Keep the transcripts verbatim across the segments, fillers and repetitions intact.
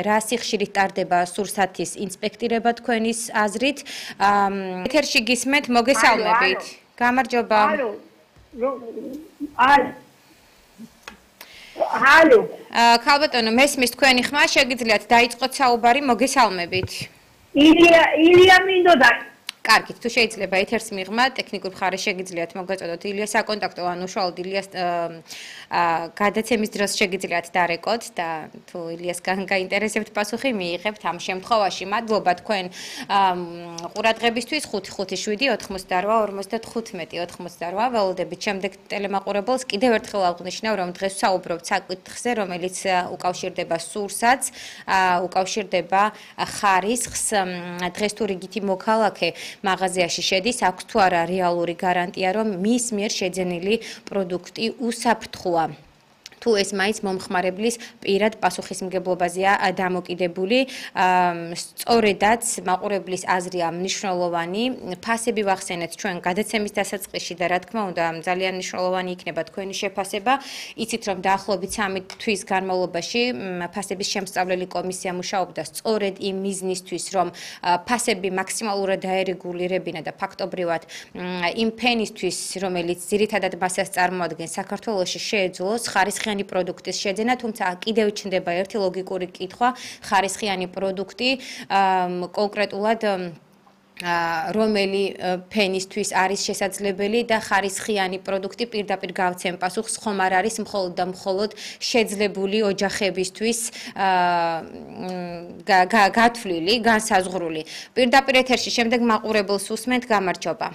რა სიხშირით ტარდება სურსათის ინსპექტირება თქვენის აზრით? ეთერში გისმენთ, მოგესალმებით. გამარჯობა. ალო. ალო. ალო. ქალბატონო, მესმის თქვენი ხმა, შეგიძლიათ დაიწყოთ საუბარი, მოგესალმებით. ილია ილია მინდოდა. კარგით, თუ შეიძლება ეთერს მიღმა, ტექნიკურ მხარეს შეგიძლიათ მოგაწოდოთ ილიას საკონტაქტო, ან უშუალოდ ილიას გადაცემის დროს შეგიძლიათ დარეკოთ და თუ ილიასგან გაინტერესებთ პასუხი მიიღებთ ამ შემთხვევაში. მადლობა თქვენ ყურადღებისთვის. ხუთი ხუთი შვიდი ოთხმოცდაორვა ორმოცდათხუთმეტი ოთხმოცდაორვა ველოდებით შემდეგ ტელემაყურებელს. კიდევ ერთხელ აღვნიშნავ, რომ დღეს ვსაუბრობთ საკითხზე, რომელიც უკავშირდება სურსათს, უკავშირდება ხარისხს. დღეს თუ რიგითი მოქალაქე მაღაზიაში შედის, აქვს თუ არა რეალური გარანტია, რომ მის მიერ შეძენილი პროდუქტი უსაფრთხოა. თუ ეს მაინც მომხმარებლის პირად პასუხისმგებლობაზეა დამოკიდებული, სწორედაც მაყურებლის აზრია მნიშვნელოვანი. ფასები ვახსენეთ ჩვენ გადაცემის დასაწყისში და რა თქმა უნდა ძალიან მნიშვნელოვანი იქნება თქვენი შეფასება. იცით რომ დაახლოებით სამი თვის განმავლობაში ფასების შემსწავლელი კომისია მუშაობდა სწორედ იმ მიზნისთვის, რომ ფასები მაქსიმალურად დაერეგულირებინა და ფაქტობრივად იმ ფენისთვის, რომელიც ძირითადად მასას წარმოადგენს საქართველოში შეეძლოს ხარისხიანი პროდუქტის შეძენა, თუმცა კიდევ ჩნდება ერთი ლოგიკური კითხვა, ხარისხიანი პროდუქტი კონკრეტულად რომელი ფენისთვის არის შესაძლებელი და ხარისხიანი პროდუქტი პირდაპირ გავცემ პასუხს ხომ არ არის მხოლოდ და მხოლოდ შეძლებული ოჯახებისთვის გათვლილი, განსაზღვრული. პირდაპირ ეთერში შემდეგ მაყურებელს უსმენთ, გამარჯობა.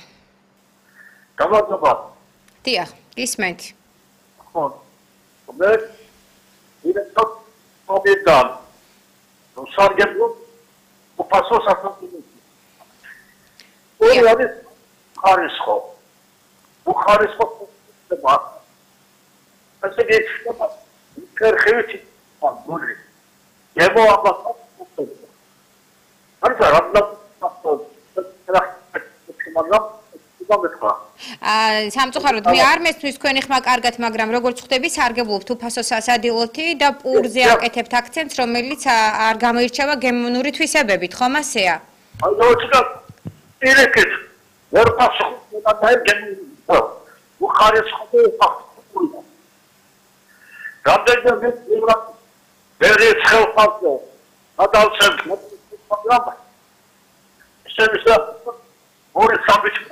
გამარჯობა. დიახ, გისმენთ. ხო. მე ვიდეო მოგედან. ნუ სარგებლო უფასო საფრთხე. ორი არის ხარისხო. უხარისხო ხდება. ასე გეჩება. ქერხევით მოდი. ებო აბა. არ ზარაბლა სამწუხაროდ მე არ მესმის თქვენი ხმა კარგად, მაგრამ როგორც ხვდები, სარგებლობთ უფასო სასადილოთი და პურზე აკეთებთ აქცენტს, რომელიც არ გამოირჩევა გემოვნური თვისებებით, ხომ ასეა? აი მოიცა ერეკეთ ვერ პასუხი და დაერგენი უხარისხო ფაქტურა რამდენიმე ევრა ვერ ცხელფასო ადალცემ მაგრამ შეიძლება ორი სამბიჩი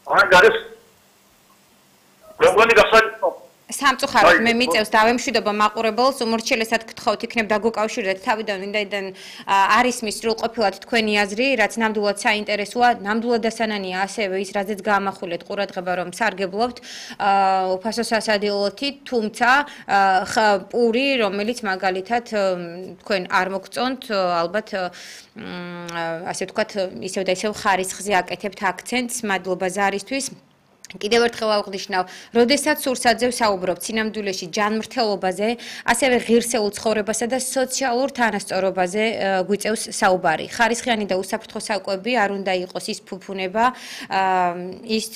აი გარის როგორი გასაგებია სამწუხაროდ მე მიწევს დავემშვიდობა მაყურებელს, უმორჩილესად გთხოვთ იქნებ დაგუკავშირდეთ თავიდან ვინაიდან არის მის სრულყოფილად თქვენი აზრი, რაც ნამდვილად საინტერესოა, ნამდვილად დასანანია ასევე ის, რაზეც გაამახვილეთ ყურადღება, რომ სარგებლობთ უფასო სასადილოთი, თუმცა პური, რომელიც მაგალითად თქვენ არ მოგწონთ, ალბათ ასე ვთქვათ, ისევ და ისევ ხარისხზე აკეთებთ აქცენტს, მადლობა ზარისთვის. კიდევ ერთხელ აღვნიშნავ, როდესაც სურსათზე ვსაუბრობთ სინამდვილეში ჯანმრთელობაზე, ასევე ღირსეულ ცხოვრებასა და სოციალურ თანასწორობაზე გვიწევს საუბარი. ხარისხიანი და უსაფრთხო საკვები არ უნდა იყოს ის ფუფუნება, ის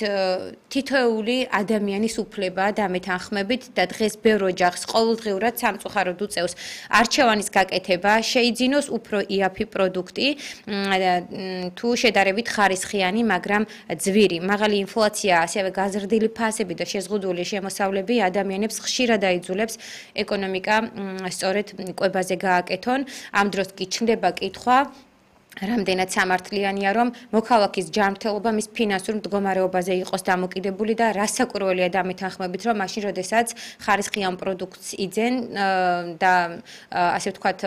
თითოეული ადამიანის უფლება და მეთანხმებით და დღეს ბევრ ოჯახს ყოველდღიურად სამწუხაროდ უწევს არჩევანის გაკეთება, შეიძინოს უფრო იაფი პროდუქტი, თუ შედარებით ხარისხიანი, მაგრამ ძვირი, მაღალი ინფლაცია, ასევე გაზრდილი ფასები და შეზღუდული შემოსავლები ადამიანებს ხშირად აიძულებს ეკონომიკა სწორედ კვებაზე გააკეთონ. ამ დროს კი ჩნდება კითხვა, რამდენად სამართლიანია, რომ მოქალაქის ჯანმრთელობა მის ფინანსურ მდგომარეობაზე იყოს დამოკიდებული და რასაკვირველია დამეთანხმებით, რომ მაშინ, როდესაც ხარისხიან პროდუქტს იძენ და ასე ვთქვათ,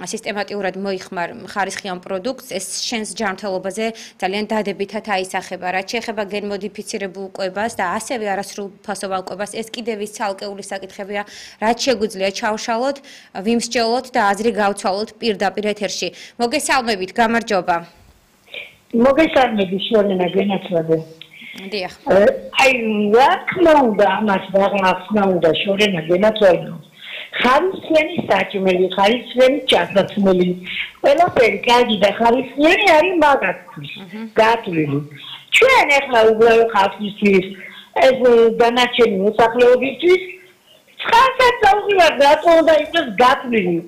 სისტემატიურად მოიხმარ ხარისხიან პროდუქტს, ეს შენს ჯანმრთელობაზე ძალიან დადებითად აისახება. რაც შეეხება გენმოდიფიცირებულ კვებას და ასევე არასრულფასოვან კვებას, ეს კიდევ ის ცალკეული საკითხებია, რაც შეგვიძლია ჩავშალოთ, ვიმსჯელოთ და აზრი გავცვალოთ პირდაპირ ეთერში. მოგესალმებით, გამარჯობა. მოგესალმებით, შორენა გენაცვალე. დიახ. აი, რა თქმა უნდა, ამას ვაღახსნა უნდა შორენა გენაცვალე. ხარისხიანი საჭმელი, ხარისხიანი ჩასაცმელი. ყველაფერი კარგი და ხარისხიანი არის მაგათთვის. გათვლილი. ჩვენ ახლა უბრალოდ ხალხისთვის ეს დანარჩენი მოსახლეობისთვის ხანსაც წავიღარ რატო უნდა იყოს გათვლილი